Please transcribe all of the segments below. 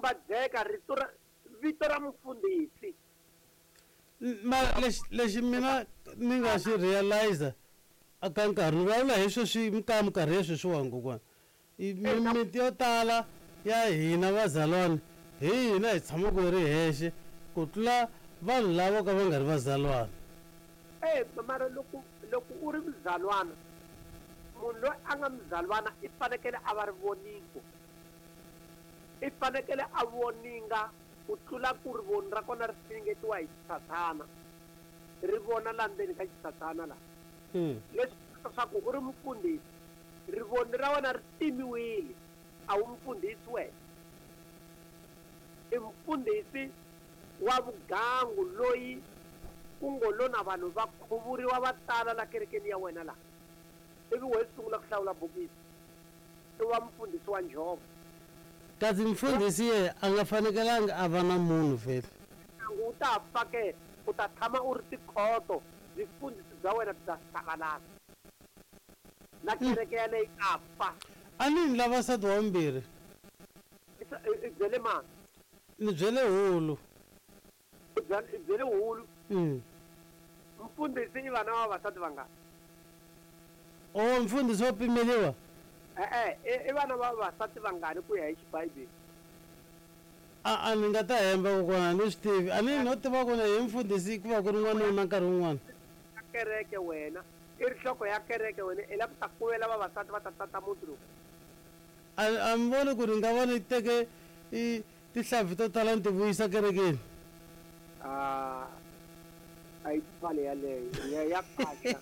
Xumbadzeka rito ra vito ra mufundhisi. Mara lexi lexi mina ni nga xi realize aka nkarhi ni vulavula hi sweswi ka minkarhi ya sweswiwani kokwana mimiti yo tala ya hina vazalwana hi hina hi tshamaka hi ri hexe ku tlula vanhu lava ka va nga ri vazalwana. E mara loko loko u ri muzalwana munhu loyi a nga muzalwana i fanekele a va rivoningo i fanekele a voninga ku tlula ku rivoni ra kona ri finingetiwa hi xitsatsana ri vona la ndzeni ka xitsatsana la. Leswi leswaku u ri mufundhisi rivoni ra wena ri timiwile a wu mufundhisi wena. I mufundhisi wa vugangu loyi ku ngo lo na vanhu va khuvuriwa va tala la kerekeni ya wena la ivi wehe sungula ku hlawula bokisi i wa mufundhisi wa njhovo. Kasi mufundhisi ye a nga fanekelanga a va na munhu vhele. Ndyangu wu ta fa ke u ta tshama u ri tikhoto vufundhisi bya wena byi ta savalala na kereke yaleyo yi ta fa. A ni ni lava nsati wa vumbirhi. I byele mani? Ni byele hulu. I byele hulu? Mfundhisi i vana va vavasati vangani? Oh mfundhisi wa pimeliwa? E-e, i vana va vavasati vangani ku ya hi xibibele? A a ni nga ta hemba kokwana a ni swi tivi a ni no tiva ku hi mfundhisi ku va ku ri n'wanuna nkarhi wun'wana. Ya kereke wena i ri nhloko ya kereke wena i lava ku ta kuvela vavasati va ta tata muti lowu. A a mi voni ku ni nga va ni teke i tihlampfi to tala ni ti vuyisa kerekeni? A a yi pfale yaleyo ya ya kaxa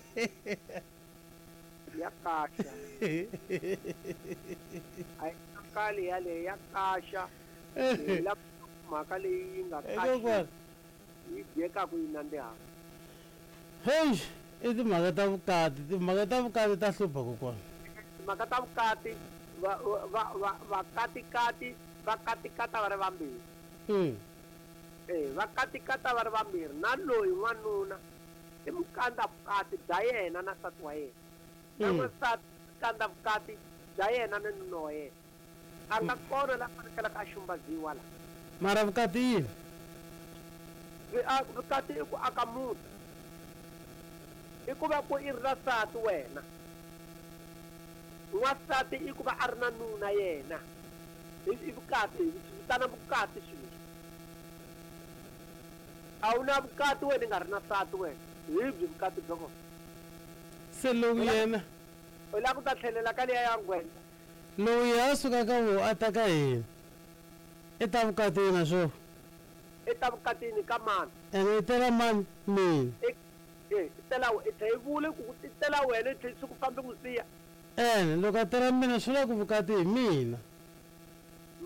ya kaxa a yi kali yaleyo ya kaxa hi la mhaka leyi yi nga kaxi yi dyekaku yi nandzihaka. Heyi i timhaka ta vukati timhaka ta vukati ta hlupha kokwana. Timhaka ta vukati va va va vakatikati va katikata va ri vambirhi. E va katikata va ri vambirhi na loyi n'wanuna i mukandza vukati bya yena na nsati wa yena na n'wansati mukandza vukati bya yena na nuna wa yena. A nga kona la fanekelaka a xumbaziwa la. Mara vukati i yini? Vukati i ku aka muti. I ku va ku i ri na nsati wena. N'wansati i ku va a ri na nuna yena. I vukati, hi swi vitana vukati swilo leswi. A wu na vukati wena i nga ri na nsati wena. Hi byi vukati bya kona. Se lowu yena. U lava ku ta tlhelela ka liya ya nghwendza? Lowu yena a suka ka voho a ta ka hina, i ta vukatini na swona. I ta vukatini ka mani? Ene i tela mani? Mina. I, e, i tela i tlhe i vule ku i tela wena i tlhe swi ku fambi n'wi siya. Ene loko a tela mina swi vula ku vukati hi mina.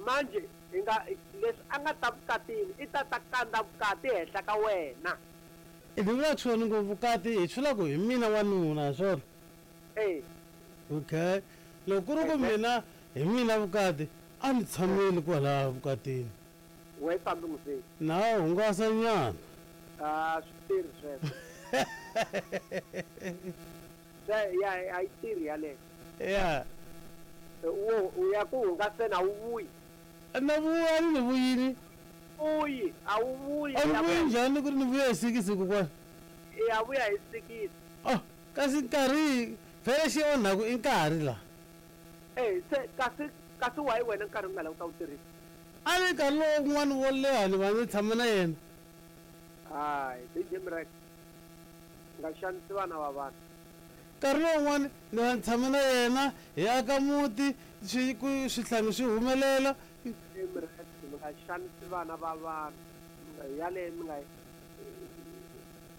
Manjhe hi nga, leswi a nga ta vukatini i ta ta kandza vukati henhla ka wena. I ni vulaka swona ngo vukati hi swi vula ku hi mina wanuna, ha swona? E. Okay. Loko ku ri ku mina hi mina vukati a ni tshameli kwalaya vukatini. Wehe fambi n'wi. Na hungasa nyana. A swi tirhi sweswo. Se ya a yi tirhi yaleyo. Ya. Wo u ya ku hungaseni a wu vuyi. Na vuya ni vuyini. Vuyi a wu vuyi. A ni vuyi njhani ku ri ni vuya hi sikisi kokwana? Ya vuya hi sikisi. Oh kasi nkarhi vhele xi onhaku i nkarhi la. E se kasi kasi why wena nkarhi u nga lavi ku ta wu tirhisa? A ni nkarhi lowu wun'wana wo leha ni va ni tshama na yena. Hayi DJ Mrek nga xanisi vana va vanhu. Nkarhi lowun'wana ni va ni tshama na yena hi aka muti swi ku swihlangi swi humelela. DJ Mrek mi nga xanisi vana va vanhu mi nga yaleyo mi nga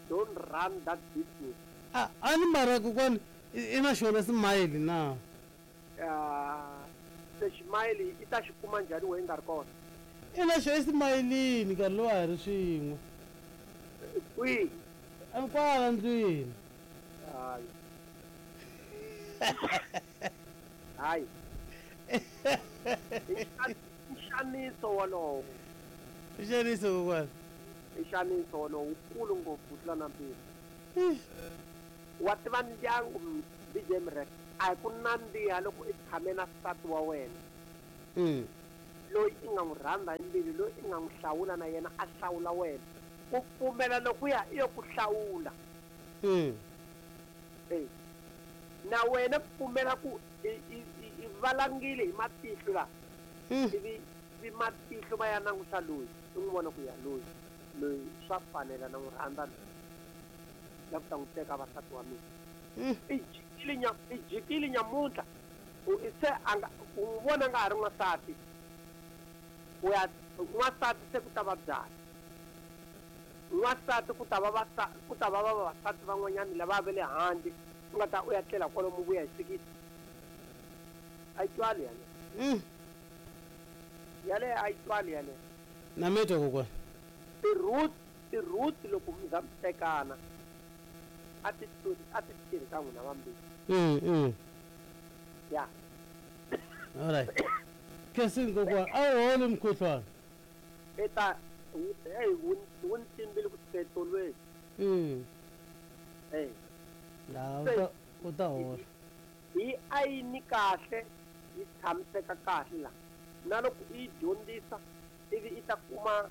don't run that business. A a ni mara kokwani i na xona smile na? Se ximayili i ta xi kuma njhani wehe i nga ri kona? I na xona esimayilini nkarhi lowu a hi ri swin'we. Kwihi? Kwala ndlwini. Hayi. Hayi. I nxaniso wolowo. I nxaniso kokwana. I nxaniso wolowo wukulu ngopfu ku tlula na mpimo. Wa tiva ndyangu DJ Mrek a hi ku nandziha loko i tshame na nsati wa wena. Loyi i nga n'wi rhandza hi mbilu, loyi i nga n'wi hlawula na yena a hlawula wena. Ku pfumela lokuya i yo ku hlawula. Na wena pfumela ku i valangile hi matihlo la. Ivi vi matihlo va ya langusa loyi, u n'wi vona ku ya loyi, loyi swa fanela na n'wi rhandza loyi. La ku ta n'wi teka vasati wa mina. I jikile nya, i jikile nyamuntlha. U se a nga, u n'wi vona nga ha ri n'wansati. U ya n'wansati se ku ta va byala. N'wansati ku ta va vasa, ku ta va vavasati van'wanyana lava va le handle, u nga ta u ya tlela kwalomu vuya hi sikiti. A yi twali yaleyo. Yaleyo a yi twali yaleyo. Na mi twa kokwana. Ti-roots loko mi za mi tekana, a ti tluli, a ti tirhi ka n'wina vambirhi. Ya. All right. Khensini kokwana, a wu holi mukhuhlwana? Eta, hey, wu ni tlimbile ku fika etolweni. Hey. La, u ta hola. Hi a yi ni kahle, yi tshamiseka kahle la. Na loko i yi dyondzisa, ivi i ta kuma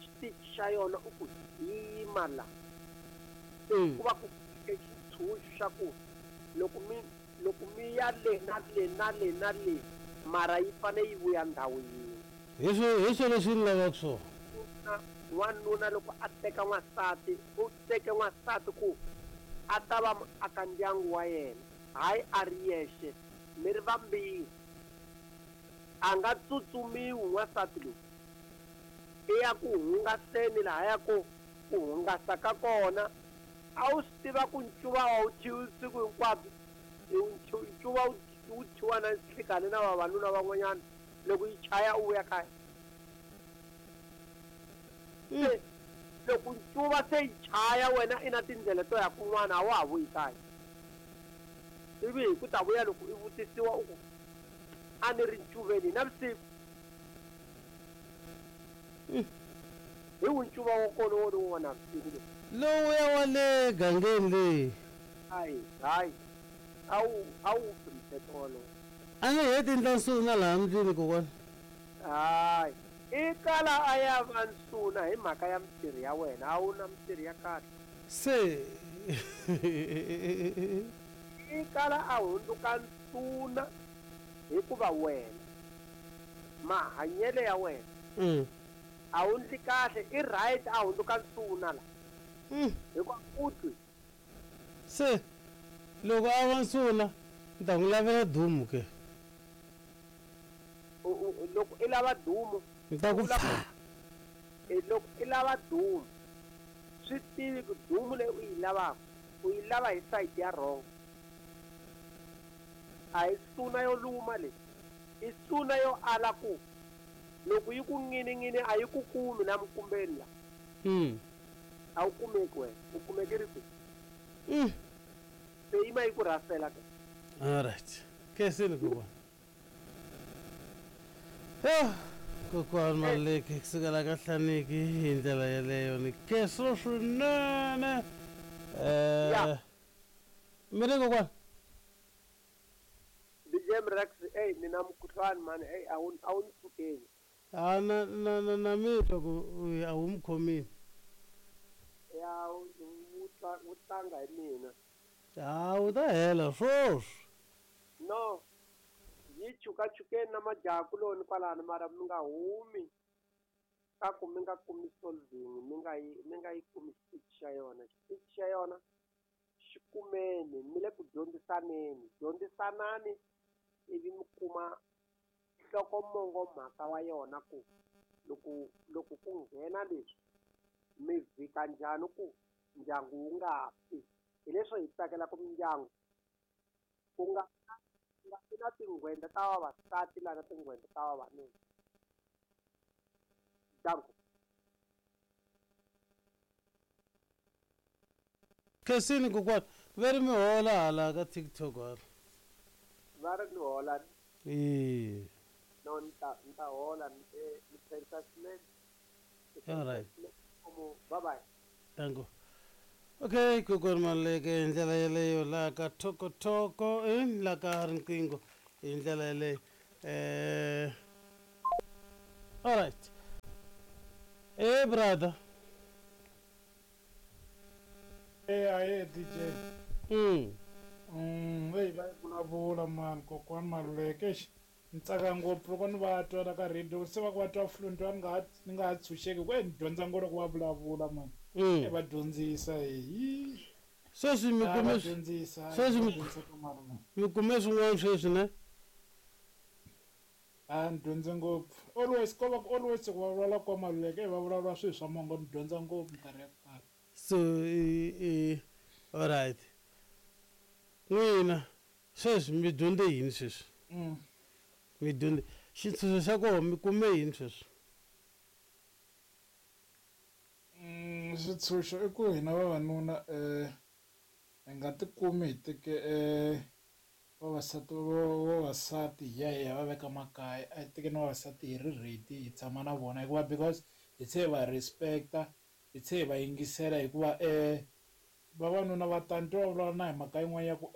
xitichi xa yona u ku yi yima la. Ku va ku fike xitshunxo xa ku loko mi ya le na le na le na le, mara yi fanele yi vuya ndhawu yin'we. Hi swo leswi ni lavaka swona. N'wanuna loko a teka n'wansati, u teke n'wansati ku a ta va muaka ndyangu wa yena, hayi a ri yexe, mi ri vambirhi. A nga tsutsumiwi n'wansati loyi. I ya ku hungaseni lahaya ku ku hungasa ka kona. A wu swi tiva ku ncuva a wu thyiwi siku hinkwabyo. Ncuva wu thyiwa na nhlikani na vavanuna van'wanyana loko yi chaya u vuya kaya. Se loko ncuva se yi chaya wena i na tindlela to ya kun'wana a wa ha vuyi kaya. Ivi hi ku ta vuya loko i vutisiwa u ku a ni ri ncuveni navusiku. Hi wu ncuva wa kona wo lowu wa navusiku lowu. Lowuya wa le gangeni leyi. Hayi, hayi. A wu pfi mthetho wolowo. A ni heti ndla nsuna laha ndlwini kokwana. Hayi. I kala a ya va nsuna hi mhaka ya mintirho ya wena, a wu na mintirho ya kahle. Se i kala a hundzuka nsuna hikuva wena mahanyelo ya wena a wu ndli kahle, i right a hundzuka nsuna la. Hikuva u twi. Se loko a va nsuna ni ta n'wi lavela dumu ke. Loko i lava dumu, ni ta ku pfa. Loko i lava dumu, swi tivi ku dumu leyi u yi lavaka, u yi lava hi side ya wrong. A hi suna yo luma leyi, i suna yo ala ku loko yi ku ngini-ngini a yi ku kumi na minkumbeni la. A wu kumeki wena, u kumeki ri kwihi? Se yima yi ku rhasela ke. All right. Khensini kokwana. Yo, kokwana Maleke kusukela ka Hlaniki hi ndlela yeleyo ni khensa swinene. Mi ri kokwana? DJ Mrax, ey, ni na mukhuhlwani mani, ey, a wu ni pfukeli. A na na na na mi twa ku a wu mi khomile. Ya, wu tlanga hi mina. A wu ta hela swoswi. No. Yi chukachukeni na majaha kuloni kwalano, mara mi nga humi ka ku mi nga kumi solving, mi nga yi kumi xitichi xa yona. Xitichi xa yona xi kumeni, mi le ku dyondzisaneni. Dyondzisanani ivi mi kuma nhlokomongo mhaka wa yona ku loko ku nghena leswi mi vhika njhani ku ndyangu wu nga fi. Hi leswo hi tsakela ku mindyangu ku nga na tinghwenda ta vavasati la na tinghwenda ta vavanuna. Danko. Khensini kokwana, va ri mi hola hala ka TikTok hala. Va ri ni hola. E. No, ni ta hola, ni khensa swinene. All right. Bye bye. Danko. Okay, kokwana Maleke hi ndlela yeleyo laha ka Thokotoko, laha ka riqingho hi ndlela yeleyo. Alright. Hey brother. Hey, aye DJ. Hey, va vulavula mani kokwani Maluleke. Eish, ni tsaka ngopfu loko ni va twa la ka radio se va ku va twa fluent va ni nga ha tshunxeki ku ni dyondza ngopfu loko va vulavula mani. Va dyondzisa hi. Sweswi mi kume sweswi mi kume swin'wana sweswi ne? A ni dyondze ngopfu. Always ko va always ku va vulavula kwa Maluleke va vulavula swilo swa mongo ni dyondza ngopfu minkarhi ya ku tala. So all right. N'wina sweswi mi dyondze yini sweswi? Mi dyondze xitshunxo xa kona mi kume yini sweswi? Xitshunxo i ku hina vavanuna hi nga tikumi hi teke vavasati vavasati hi ya hi ya va veka makaya, a hi tekeni vavasati hi ri ready hi tshama na vona hikuva because hi tlhe hi va respect-a hi tlhe hi va yingisela hikuva vavanuna va tani twa va vulavula na hi mhaka yin'wana ya ku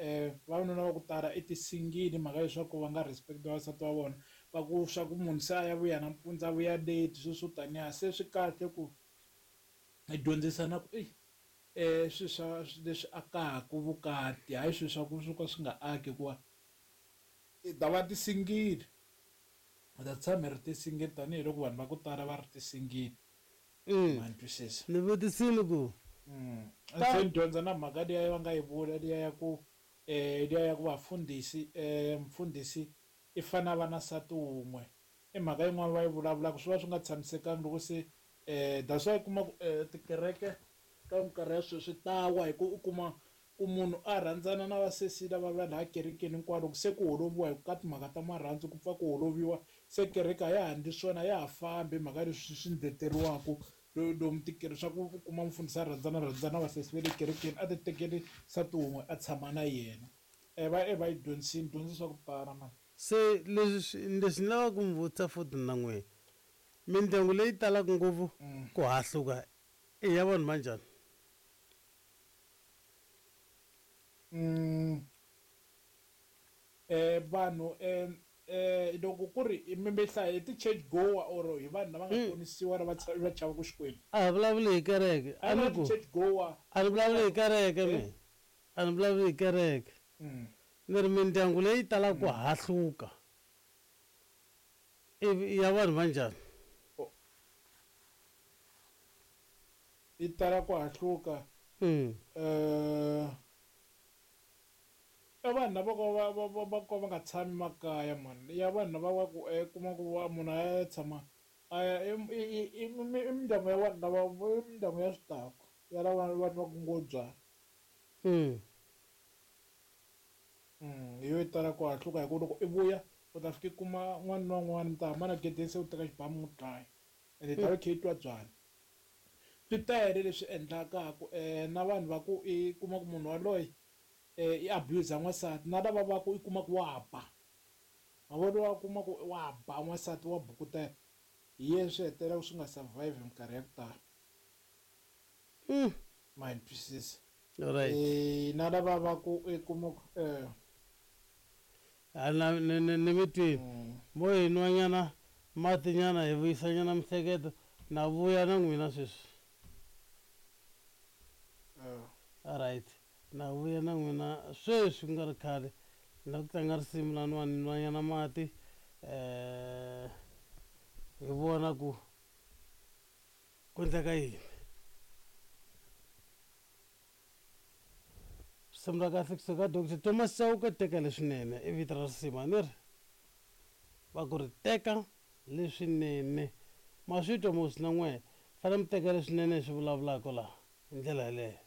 vavanuna va ku tala i tisingili mhaka leswaku va nga respect vavasati va vona va ku swa ku munhu se a ya vuya nampundzu a vuya late sweswo swo taniya se swi kahle ku hi dyondzisana ku eyi swilo swa leswi akaka vukati hayi swilo swa ku swo ka swi nga aki hikuva hi ta va tisingili hi ta tshama hi ri tisingili tanihiloko vanhu va ku tala va ri tisingili. Ma ni twisisa? Ni vutisile ku Se ni dyondza na mhaka liya va nga yi vula liya ya ku liya ya ku vafundhisi mfundhisi i fanele a va na nsati wun'we i mhaka yin'wana va yi vulavulaka swi va swi nga tshamisekanga loko se that's why u kuma ku tikereke ka minkarhi ya sweswi ta wa hi ku u kuma ku munhu a rhandzana na vasesi lava va laha kerekeni hinkwavo loko se ku holoviwa hi ka timhaka ta marhandzu ku pfa ku holoviwa se kereke a ya ha endli swona a ya ha fambi hi mhaka leswi swi ndleteriwaka lomu tikeri swa ku u kuma mufundhisi a rhandzana rhandzana na vasesi va le kerekeni a ti tekeli nsati wun'we a tshama na yena va va yi dyondzisini dyondzisa ku tala mani. Se leswi leswi ni lavaka ku mi vutisa futhi na n'wina mindyangu leyi talaka ngopfu ku hahluka i ya vanhu va njhani? Vanhu loko ku ri mi mi hlaya hi ti-church goer or hi vanhu lava nga ponisiwa lava va chavaka Xikwembu. A hi vulavuli hi kereke a ni ku church goer a ni vulavuli hi kereke mina a ni vulavuli hi kereke ni ri mindyangu leyi talaka ku hahluka i ya vanhu va njhani? Yi tala ku hahluka i vanhu lava ka va va va va ka va nga tshami makaya mani ya vanhu lava va ku kuma ku va munhu a ya tshama a ya i mindyangu ya vanhu lava i mindyangu ya swidakwa ya lava vanhu va ku ngo byala. Hi yo yi tala ku hahluka hi ku loko i vuya u ta fika i kuma n'wana na un'wana mi ta hambana gedeni se u teka xibamu n'wi dlaya ende i ta va i kha i twa byala. Swi tele leswi endlaka na vanhu va ku i kuma ku munhu yaloye i abuse n'wansati na lava va ku i kuma ku wa ba ma vona wa kuma ku wa ba n'wansati wa bukutela hi yena swi hetelela swi nga survive minkarhi ya ku tala. Ma ni twisisa? Right. Na lava va ku i kuma ku A na ni ni mi twini mo hi nwanyana matinyana hi vuyisanyana mihleketo na vuya na n'wina sweswi. Alright na vuya na n'wina sweswi ku nga ri khale ni la ku tlanga risimu laniwani ni nwanyana mati hi vona ku ku endleka yini. Risimu ra kahle kusuka ka Doctor Thomas Chauke teka leswinene i vito ra risimu a ni ri va ku ri teka leswinene ma swi twa mos na n'wehe fanele mi teka leswinene hi swi vulavulaka laha hi ndlela yeleyo.